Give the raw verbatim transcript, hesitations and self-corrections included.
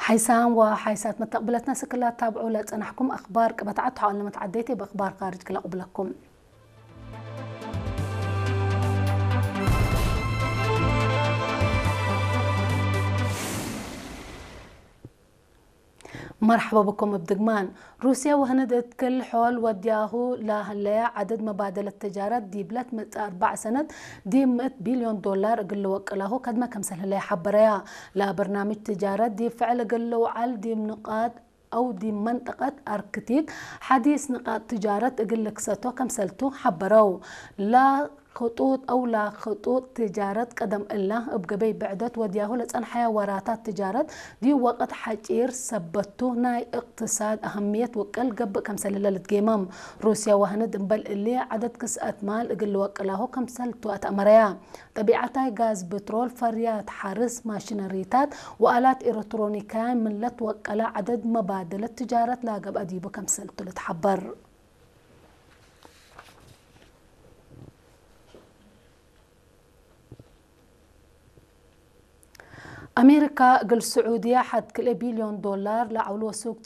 ሓይሳም ወሓይሳት መተቅብለትነ ስክላ ታብዑ ለጸናሕኩም አኽባር ቅበት ዐድ ተሓውል ለመትዓደይት እብ አኽባር ካርጅ ክለቅብለኩም። መርሐበ ብኩም እብ ድግማን። ሩስየ ወህንድ እት ክል ሖል ወድያሁ ለህለየ ዐደድ መባደለት ትጃረት ዲብ ለትመጽእ አርበዕ ሰነት ዲብ ምእት ቢልዮን ዶላር እግል ልወቅላሁ ከድመ ክምሰል ህለየ ሐበረያ። ለበርናምጅ ትጃረት ዲብ ፍዕል እግል ልውዐል ዲብ ንቃጥ አው ዲብ መንጠቀት አርክቲክ ሐዲስ ንቃጥ ትጃረት እግል ልክሰቶ ከምሰልቱ ሐበረው። ላ ክጡጥ አው ላክጡጥ ትጃረት ቀደም እለ እብ ገበይ ብዕደት ወድያሁ ለጸንሐየ ወራታት ትጃረት ዲብ ወቅት ሐጪር ሰበቱ ናይ እቅትሳድ አህምየት ውቅል ገብእ ከምሰል እለ ልትጌመም። ሩስየ ወህንድ እምበል እሊ ዐደድ ክስአት ማል እግል ልወቅላሁ ከምሰልቱ አትአመረያ። ጠቢዐታይ ጋዝ፣ ብትሮል፣ ፈርያት ሐርስ፣ ማሽነሪታት ወአላት ኤረትሮኒካያን ምን ለትወቀለ ዐደድ መባደለት ትጃረት ለገብአ ዲቡ ከምሰልቱ ልትሐበር። አሜሪካ እግል ስዑድየ ሐድ ክልኤ ቢልዮን ዶላር ለዐውሎ ሱቅ